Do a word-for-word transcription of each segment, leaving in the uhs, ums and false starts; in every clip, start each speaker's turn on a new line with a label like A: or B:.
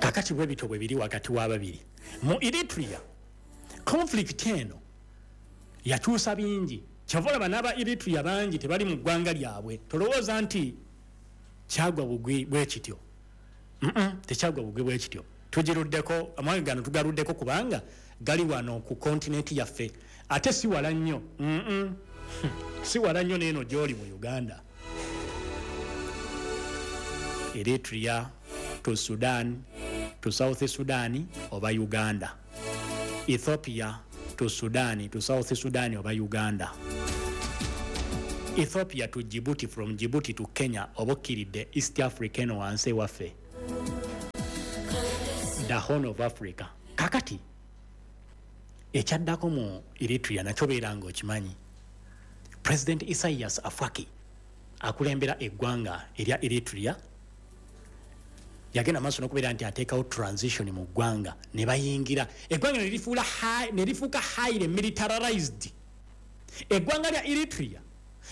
A: Kakati bwe bityo bwe biri wakati w'ababiri mu Eritrea. Conflict eno yakyusa bingi. Kyova olaba n'aba Eritrea bangi tebali mu ggwanga lyabwe. Tolowooza nti kyagwa bugwi bwe kityo. Mm-mm, tekyagwa bugwi bwe kityo. Tugiruddeko, amawanga gano tugaluddeko kubanga gali wano ku kontinenti yaffe, ate si wala nnyo. Mm-mm. Si wala nnyo n'eno gy'oli mu Uganda. Eritrea to Sudan to South Sudan oba Uganda. Ethiopia to Sudan to South Sudan oba Uganda. Ethiopia to Djibouti, from Djibouti to Kenya oba okkiridde East Africa eno wansi ewaffe, the Horn of Africa. Kakati ekyaddako mu Eritrea nakyo beera ng'okimanyi, President Isaias Afwerki akulembera eggwanga erya Eritrea yagenda maaso n'okubeera nti ateekawo transition mu ggwanga, ne bayingira eggwanga ne lifuula high- ne lifuuka highly militarized. Eggwanga lya Eritrea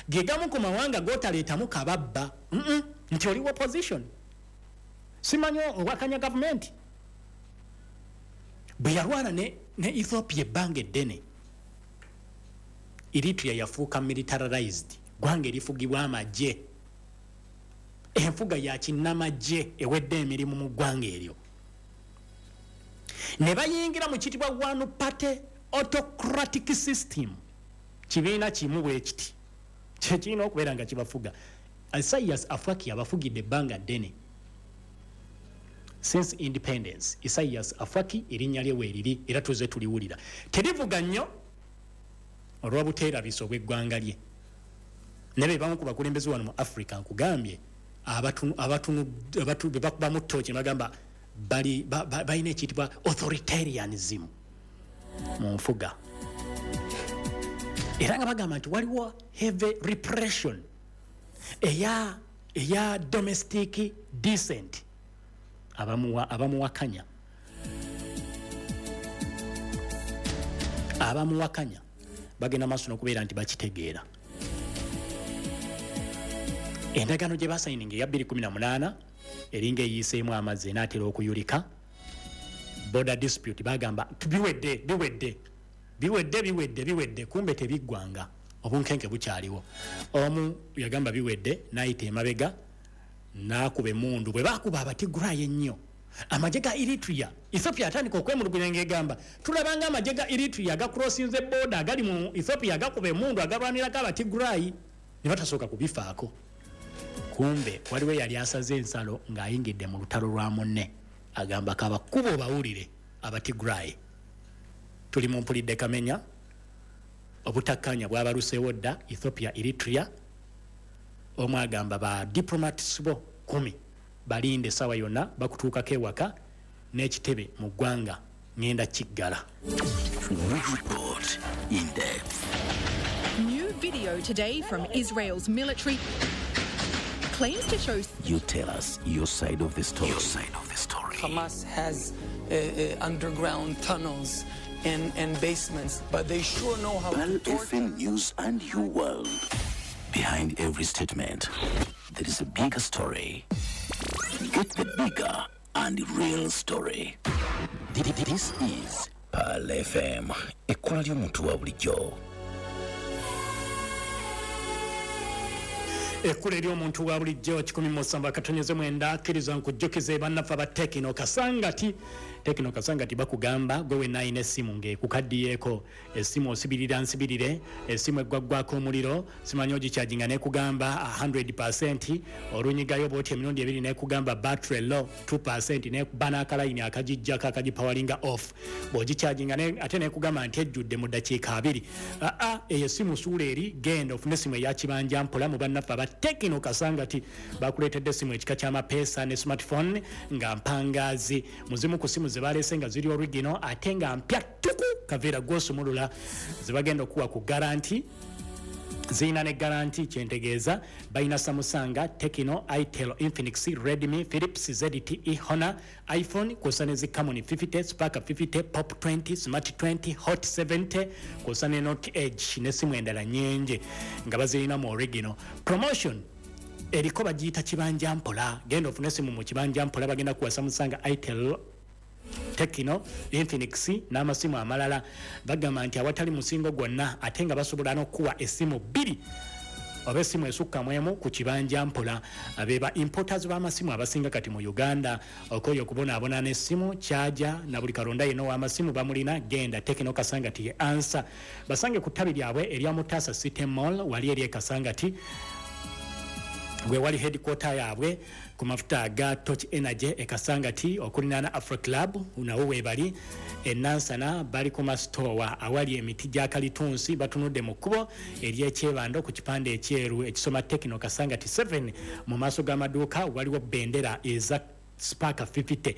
A: ge gamu ku mawanga g'otaleetamu kababba. Mm-mm, nti oli opposition, simanyi owakanya gavumenti. Bwe yalwana ne, ne Ethiopia ebbanga eddene, Eritrea yafuuka militarized, ggwanga erifugibwa amagye, enfuga ya kinnamagye ewedde emirimu mu ggwanga eryo. Ne bayingira mu kitibwa one party autocratic system, kibiina kimu bwe kiti kyekirina okubeera nga kibafuga. Isaias Afwerki abafugidde ebbanga ddene since independence. Isaias Afwerki erinnya lye weeriri era tuze tuliwulira, terivuga nnyo olw'obuteerabisa obw'eggwanga lye. Ne be bamu ku bakulembeze wano mu Africa nkugambye abatunu abatunu abatu be bakubamu ttooki ne bagamba bali ba- ba- balina ekiyitibwa authoritarianism mu nfuga, era nga bagamba nti waliwo heavy repression eya eya domestic dissent. Abamuwa abamuwakanya abamuwakanya bagenda maaso n'okubeera nti bakitegeera. Endagaano gye basayininga eya bbiri kumi na munaana eringa eyiiseemu amazzi enaatera okuyulika. Border dispute bagamba biwedde, biwedde, biwedde, biwedde, biwedde, kumbe tebiggwanga, obunkenke bukyaliwo. Omu yagamba biwedde n'ayita emabega n'akuba emmundu. Bwe baakuba Abatigray ennyo, amagye ga Eritrea, Ethiopia atandika okwemulugunya ng'egamba tulabanga amagye ga Eritrea agacrossinze border agali mu Ethiopia agakuba emmundu agalwanirako Abatigray, ne batasooka kubifaako. Kumbe waliwo eyali asaze ensalo ng'ayingidde mu lutalo lwa munne, agamba kabakuba obawulire Abatigray. Tuli mu mpulidde kamenya, obutakkaanya bwabaluseewo dda Ethiopia Eritrea. Omu agamba ba diplomats bo kumi balinde essaawa yonna bakutuukako ewaka n'ekitebe mu ggwanga ŋŋenda kiggala.
B: We report in depth.
C: New video today from Israel's military claims to show
B: You tell us your side of the story. Your side of the story.
D: Hamas has uh, uh, underground tunnels and, and basements, but they sure know how
B: Pearl
D: to torture.
B: F M News and your world. Behind every statement, there is a bigger story. Get the bigger and real story. This is Pearl F M. Ekkola ly'omuntu wa bulijjo.
A: Ekkula ery'omuntu wa bulijjo kikumi mu musanvu akatonyeze mwenda. Akkiriza nkujjukize bannaffe aba Tekino Kasangati. Tekino Kasangati bakugamba gwe wenna alina essimu ng'ekukaddiyeeko, essimu osibirira nsibirire, essimu eggwaggwako omuliro, simanyi ogikyaginga n'ekugamba hundred percent, olunyigayo bw'oti emirundi ebiri n'ekugamba battery low two percent, n'ekuba n'akalayini akagijjako akagipawalinga off, bw'ogikyaginga ne-, ate n'ekugamba nti ejjudde mu ddakiika abiri. Aa, eyo essimu suula eri, genda ofune essimu eya kibanja mpola mu bannaffe aba Tekino Kasangati. Bakuleetedde essimu ekika ky'amapeesa ne smartphone nga mpangaazi. Mu zimu ku ssimu ze baleese nga ziri original ate nga mpya ttuku, kaveera gw'osumulula, ze bagenda okuwa ku guarantee, zirina ne guarantee. Kyentegeeza balina Samsung, Tecno, Itel, Infinix, Redmi, Philips, Z T E, Honor, iPhone, kw'ossa ne zi Camon fifty, Spark fifty, Pop twenty, Smart twenty, Hot seventy, kw'ossa ne Note Edge n'essimu endala nnyingi nga bazirina mu original. Promotion Eriko bagiyita Kibanja Mpola. Genda ofune esimu mu Kibanja Mpola, bagenda kuwa Samsung, Itel, Tecno, Infinix n'amasimu amalala. Bagamba nti awatali musingo gwonna, ate nga basobola n'okuwa essimu bbiri oba essimu esukka mu emu ku Kibanja Mpola. Beba importers b'amasimu abasinga kati mu Uganda. Okoyo okubonaabona n'essimu kyaja na buli kalonda yenna ow'amasimu bamulina, genda Tecno Kasangati ye ansa. Basange ku ttabi lyabwe erya Mutasa City Mall wali eri e Kasangati, we wali headquarter yaabwe ku mafuta aga Torch Energy e Kasangati okulinaana Afro Club, nawo weebali. Enansana bali ku masitowa awali emiti gya kalitunsi, batunudde mu kkubo ery'ekyebando ku kipande ekyeru ekisoma Tecno Kasangati seven. Mu maaso g'amaduuka waliwo bendera eza Spark fifty.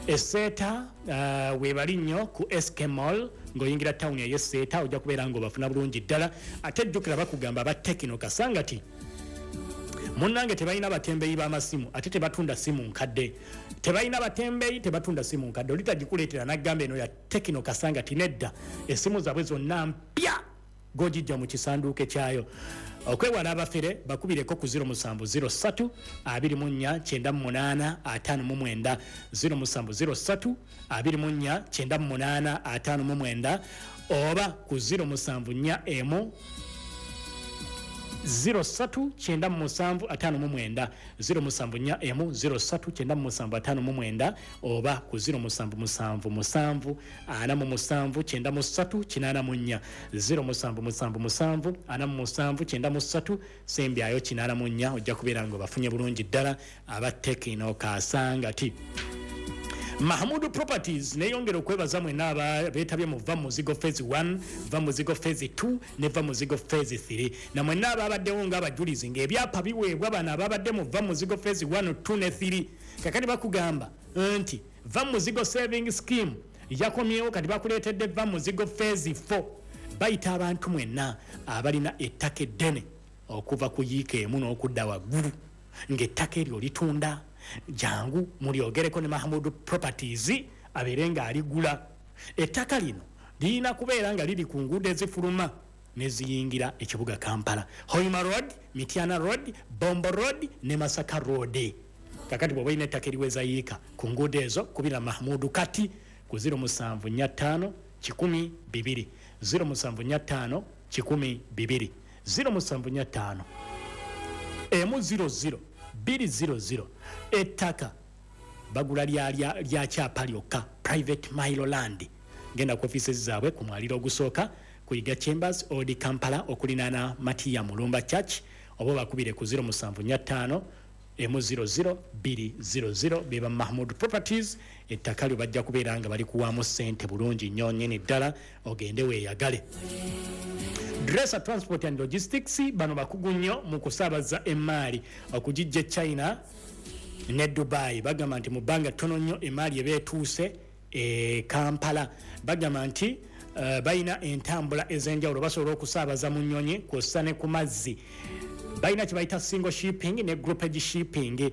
A: Eseeta uh, weebali nnyo ku S K Mall. Ng'oyingira tawuni ey'Eseeta ojja kubeera ng'obafuna bulungi ddala. Ate jjukira bakugamba aba Tecno Kasangati munnange tebalina batembeeyi b'amasimu, ate tebatunda simu nkadde. Tebalina batembeeyi, tebatunda simu nkadde. Oli tagikuleetera n'aggamba eno ya Tecno Kasangati, nedda. Essimu zaabwe zonna mpya, gogijja mu kisanduuke kyayo. Okwewala abafere, bakubireko ku zero seven zero three twenty-four ninety-eight fifty-nine, zero seven zero three twenty-four ninety-eight fifty-nine, oba ku zero seven four one zero three nine seven five nine, zero seven four one zero three nine seven five nine, oba ku zero seven seven seven forty-seven ninety-three eighty-four, zero seven seven seven forty-seven ninety-three sembyayo eighty-four. Ojja kubeera nga bafunye bulungi ddala aba Tecno Kasangati. Mahamudu Properties neyongera okwebaza mwenna abeetabye mu Va Muzigo Phase one, Va Muzigo Phase two ne Va Muzigo Phase three, na mwenna ababaddewo ng'abajulizi ng'ebyapa biweebwa bano ababadde mu Va Muzigo Phase one, two ne three. Kakati bakugamba nti Va Muzigo Saving Scheme yakomyewo, kati bakuleetedde Va Muzigo Phase four. Bayita abantu mwenna abalina ettaka eddene okuva ku yiika emu n'okudda waggulu, ng'ettaka eryo litunda, jangu mulyogereko ne Mahamudu Properties abeere ng'aligula. Ettaka lino lirina kubeera nga liri ku nguudo ezifuluma neziyingira ekibuga Kampala: Hoima Road, Mityana Road, Bombo Road ne Masaka Road. Kakati bw'oba olina ettaka eriweza yiika ku nguudo ezo, kubira Mahmudu kati ku zero seven four five one hundred twenty, zero seven four five one hundred twenty, zero seven four five emu zero zero two zero zero. Ettaka bagula lya lya kyapa lyokka, private mailo land. Genda ku offices zaabwe ku mwaliro ogusooka ku Yiga Chambers, Old Kampala, okulinaana Matiya Mulumba Church, oba bakubire ku zero seven four five emu zero zero two zero zero. Beba Mahmud Properties. Ettaka lyo bajja kubeera nga bali kuwaamu ssente bulungi nnyo nnyini ddala, ogende weeyagale. Dresser Transport and Logistics, bano bakugu nnyo mu kusaabaza emaali okugijja e China ne Dubai. Bagamba nti mu bbanga ttono nnyo emaali eba etuuse e Kampala. Bagamba nti uh, balina entambula ez'enjawulo, basobola okusaabaza mu nnyonyi kw'ossa ne ku mazzi. Balina kye bayita single shipping ne groupage shipping.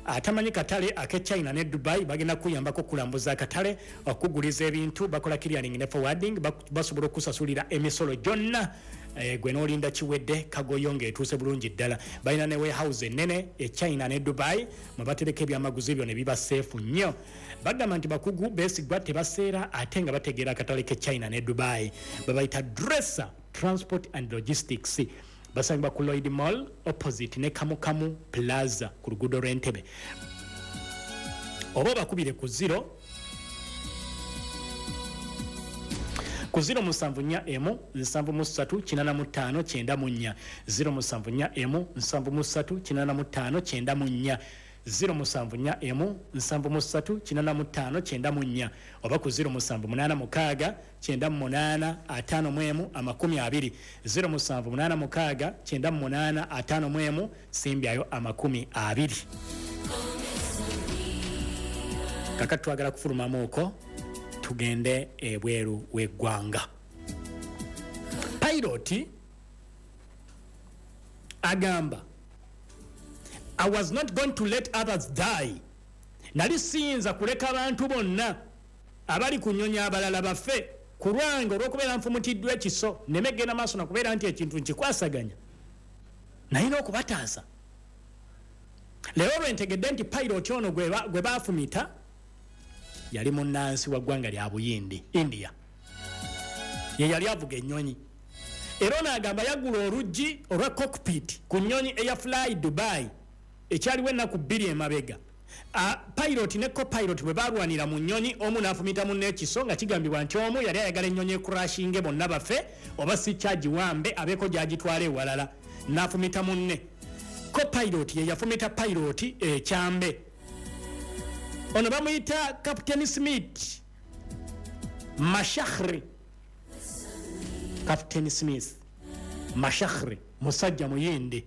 A: Atamanyi katale ake China ne Dubai, bagenda kuyambako okulambuza akatale, okuguliza ebintu. Bakola clearing ne forwarding, basobola okusasulira emisolo gyonna, eh, gwe n'olinda kiwedde kagoyo ng'etuuse bulungi ddala. Balina ne warehouse ennene e China ne Dubai mwe batereka ebyamaguzi byo ne biba safe nnyo. Bagamba nti bakugu beesigwa, tebaseera, ate nga bategeera akatale ke China ne Dubai. Babayita Dresser Transport and Logistics. Basangibwa ku Lloyd Mall opposite ne Kamukamu Plaza ku luguudo lw'Entebe, oba obakubire ku zero ku zero seven four one seven three eight five nine four, zero seven four one seven three eight five nine four, zero seven four one seven three eight five nine four, oba ku zero seven eight six ninety-eight fifty-one twenty, zero seven eight six ninety-eight fifty-one simbyayo twenty. Kakati twagala kufulumamu okwo tugende ebweru w'eggwanga. Pilot agamba, "I was not going to let others die." Nali siyinza kuleka abantu bonna abali ku nnyonyi abalala bafe ku lwange olw'okubeera nfumutiddwa ekiso, nneme genda maaso nakubeera nti ekintu nkikwasaganya, nalina okubataasa. Leero lwentegedde nti pilot ono gwe ba- gwe baafumita yali munnansi wa ggwanga lya Buyindi, India. Ye yali avuga ennyonyi, era ono agamba yagula oluggi olwa cockpit ku nnyonyi eya Fly Dubai ekyaliwo ennaku bbiri emabega. Ah, pilot ne copilot bwe balwanira mu nnyonyi, omu n'afumita munne ekiso, nga kigambibwa nti omu yali ayagala ennyonyi ecrashinge bonna bafe, oba si kyagiwambe abeeko gyagitwala ewalala, n'afumita munne. Copilot ye yafumita pilot ekyambe. Ono bamuyita Captain Smith Mashahri. Captain Smith Mashahri musajja Muyindi.